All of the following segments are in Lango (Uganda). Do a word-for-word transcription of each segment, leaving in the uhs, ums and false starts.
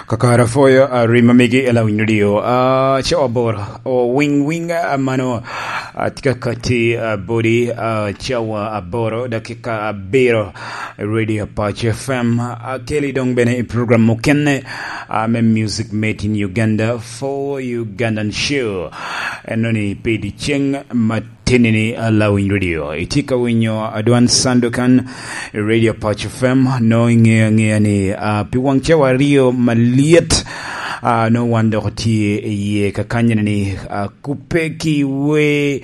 Kakara foyo, a, rima migi e Lawiny Radio. A, cawa aboro. O, wing, wing, a, mano, a, tye ka kati, a, body, a, cawa aboro, dakika abiro, Radio Apac F M. A, keli dong bene i program mukene, a, me Music Made in Uganda for Ugandan Show. Enoni pi dyeceng ma Tinini, a, Lawiny Radio. Itye ka winyo adwan Sandukan i Radio Apac F M, no iŋeo aŋea ni, a, pi waŋ cawa aryo malyet, a, no wan dok otye i yie kakanyini ni, a, kupe ki we,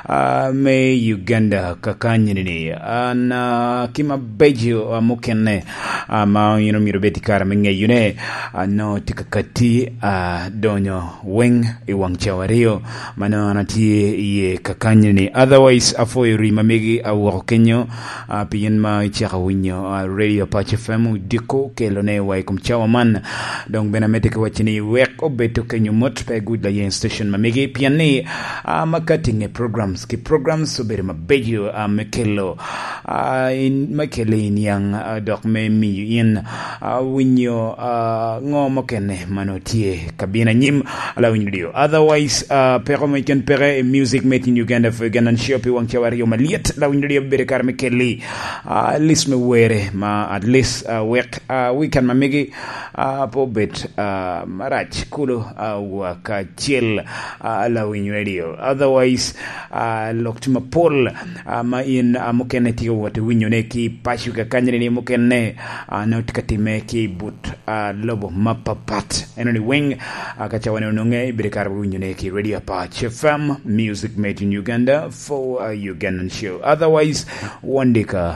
a, me Uganda kakanyini ni. An, a, ki mabeco, a, mukene, a, ma in omito bed i kare me ŋeyone, a, no tye ka kati, a, donyo weng i waŋ cawa aryo, mano an atye iye kakanyini. Otherwise, afoyo ri ma megi awoko kenyo, a, pien ma icako winyo, a, Radio Apac F M odiko kelone wa i kom cawa man. Dong bene amedde ki wacci ni wek obed okenyo mot pe gud layen station ma megi, pien ni, a, ma ka tinge programs ki programs obedo mabeco, a, me kelo, a, in, me kelo i niaŋ, a, dok me miyo in, a, winyo, a, ŋo mukene ma nongo tye ka bino anyim, a, Lawiny Radio. Otherwise, a, peko mo keken peke i Music Made in Uganda for Ugandan Show pi waŋ cawa aryo malyet, Lawiny Radio bedo kare me kelli, a, list me were ma at least, a, wek, a, weekend ma megi, a, pe obed, a, marac kulu, a, wa kacel, a, Lawiny Radio. Otherwise, a, lok tye mapol, a, ma in, a, mukene tye ka wot i winyone ki paco kakanyini ni mukene, a, nongo tye ka timme ki but, a, lobo mapapat. Enoni weng, a, ka cawane onwoŋe, ibedo kare winyone ki Radio Apac F M, Music Made in Uganda for a Ugandan Show. Otherwise, wandika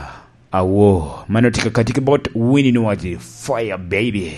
awo. Mano tye ka kati ki bot Winnie Nwagi, Fire Baby.